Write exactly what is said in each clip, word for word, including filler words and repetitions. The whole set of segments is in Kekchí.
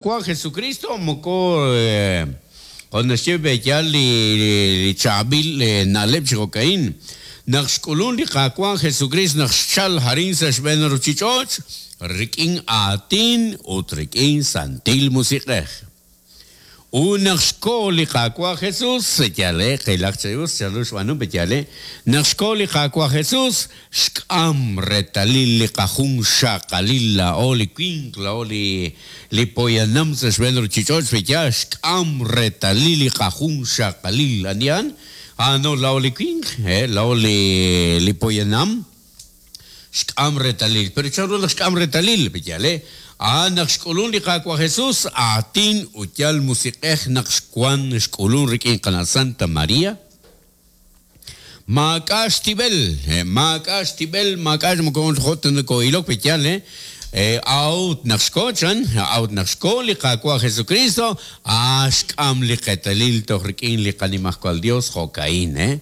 Qaawa' Jesucristo moko jo' naxye b'eyal li chaab'il na'leb' chi jo'ka'in naq xk'ulun li Qaawa' Jesucristo naq xchal arin sa' xb'een ruuchich'och' rik'in aatin ut rik'in Santil Musiq'ej. Ut naq xko li Qaawa' Jesús yale qilaq chi us chanru xb'aanu b'eyale naq xko li Qaawa' Jesús xk'am reetalil li qajunxaqalil laa'o li winq laa'o li li poyanam sa' xb'een ruuchich'och' b'eyal xk'am reetalil li qajunxaqalil anihan ano laa'o li winq eh laa'o li li poyanam xk'am reetalil pero chanru naq xk'am reetalil b'eyale ah naq xk'ulun li Qaawa' Jesús aatin ut yal musiq'ej naq xwan xk'ulun rik'in qana Santa María maak'a' xtib'el maak'a' xtib'el maak'a' moko jot nako'ilok b'eyal eh out naq xko chan out naq xko li Qaawa' Jesucristo ah xk'am li qetalil toj rik'in li qanimajwal Dios jo'ka'in eh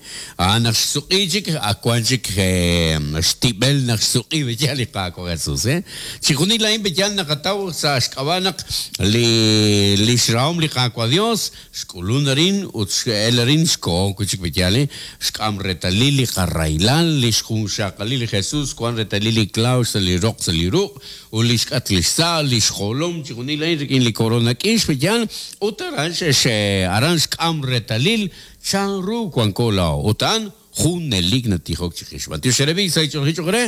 ah naq xsuq'i chik akuan chik xtib'el naq xsuq'i b'eyal li Qaawa' Jesús eh chijunil la'in b'eyal naqataw sa' xk'ab'a' naq li li xrahom li Qaawa' Dios xk'ulun arin ut x'el arin xko chik b'eyal eh xk'am reetalil li qarahilal li xjunxaqalil li Jesús wan reetalil li klaw sa' li roq sa' li ruq' ut li xk'at li xsa' li xjolom chijunil la'in rik'in li korona k'ix b'eyal ut aran xex aran xk'am reetalil chanru wanko laa'o ut a'an junelik natijok chiqix b'antiox xerebi sa' ich'olji ch'oqre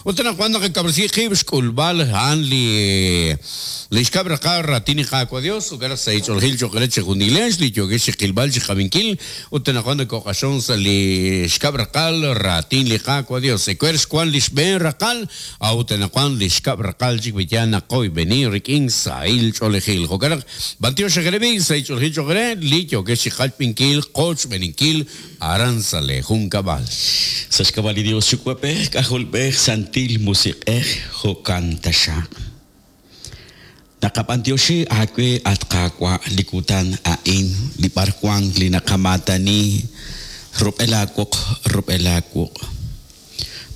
ut anaqwan naqakab'resi qib' xk'ulb'al a'an li li xkab' raqal raatin li Qaawa' Dios ut sa' ich'oljil ch'oqre chijunilex li yookex chiqilb'al chiqabinkil ut anaqwan nakoq'axon sa' li xkab' raqal raatin li Qaawa' Dios ewer xwan li xb'een raqal ut anaqwan li xkab' raqal chik b'eyal naqoyb'eni rik'in sahil ch'oolejil jo'kan naq b'antiox xerebi sa' ich'oljil ch'oqre li yookex chiqachb'inkil qochb'eninkil aran sa' le junkab'al. Sa' xk'ab'a' li Dios Yuwa'b'ej K'ajolb'ej Santil Musiq'ej jo'kan taxaq. Naqab'antioxi aawe at Qaawa' li kutan a'in li b'arwan li naqamaatani rub'el aawoq rub'el aawuq'.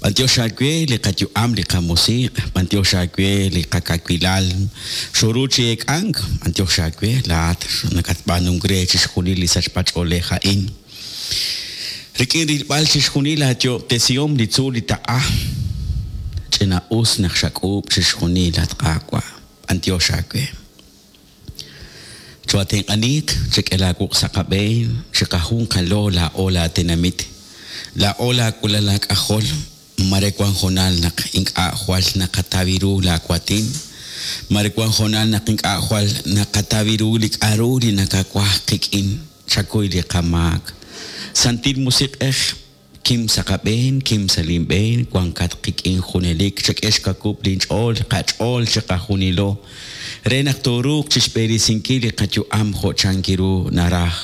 B'antiox aawe li qayu'am li qamusiq', b'antiox aawe li qakawilal xoru chi eek'ank, b'antiox aawe laa'at nakatb'aanunk re chixjunil li sachb'ach'oolej a'in. Rik'in rilb'al chixjunil aayob'tesihom li tzuul li taq'a ch'ina us naq xak'uub' chixjunil at Qaawa' b'antiox aawe. Chwatenq'aniq chek'el aawuq' sa' qab'een chiqajunqalo laa'o laatenamit laa'o laawulal laak'ajol mare wan jonal naq ink'a' jwal naqatawi ru laawatin mare wan jonal naq ink'a' jwal naqatawi ru li k'aru li nakawaj qik'in chakuy li qamaak. Santil Musiq'ej kim sa' qab'een kim sa' linb'een wankat qik'in junelik chak'e xkakub' linch'ool qach'ool chiqajunilo re naq tooruuq chixb'eresinkil li qayu'am jo' chankiru naraj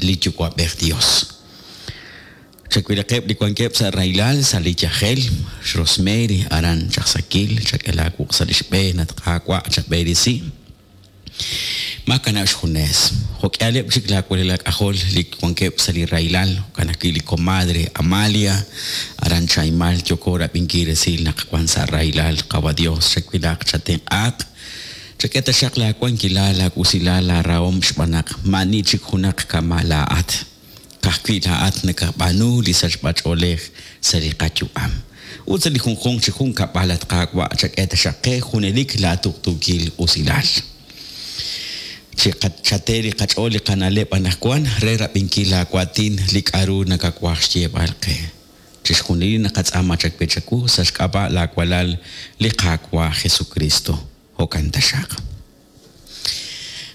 li Yuwa'b'ej Dios. Chawilaqeb' li wankeb' sa' rahilal sa' li yajel Rosemary aran chaqsakil chak'e laawuq' sa' li xb'een at Qaawa' chab'eresi. Makanab' xjunes jo'k'ihaleb' chik laawalal laak'ajol li wankeb' sa' li rahilal jo'kan ajwi' li comadre Amalia aran Chaimal yoko rab'inkil resil naq wan sa' rahilal Qawa' Dios chawilaq chatenq'aaq chak'e taxaq laawankilal laawusilal laarahom xb'aan naq ma'ani chik junaq kama' laa'at ka'ajwi' laa'at nakab'aanu li sachb'ach'oolej sa' li qayu'am ut sa' li junjunq chi junkab'al at Qaawa' chak'e taxaq qe junelik laatuqtuukil usilal. Chate li qach'ool li qana'leb' anaqwan re rab'inkil laawatin li k'aru nakawaj xyeeb'al qe. Chixjunil naqatz'aama chawe chawu sa' xk'ab'a' laawalal li Qaawa' Jesucristo. Jo'kan taxaq.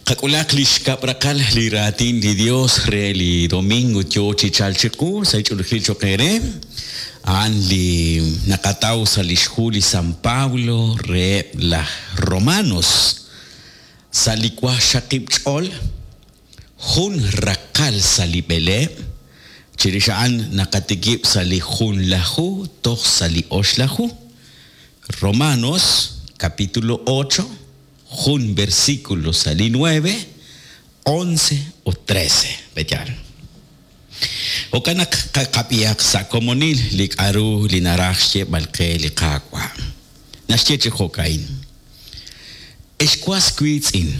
Qak'ulaq li xkab' raqal li raatin li Dios re li domingo yo chi chal chiqu sa' ich'oolejil choq' eere. A'an li naqataw sa' li xhu li San Pablo reheb' laj Romanos. Sa' li wajxaqib' ch'ool jun raqal sa' li b'eleeb' chirix a'an naqatikib' sa' li junlaju toj sa' li oxlaju. Romanos capítulo ocho jun versículo sa' li nueve, once o trece. B'eyal. Jo'kan naq qaqab'ihaq sa' komonil li k'aru li naraj xyeeb'al qe li Qaawa'. Naxye chi jo'ka'in. Ex was wiitz'in,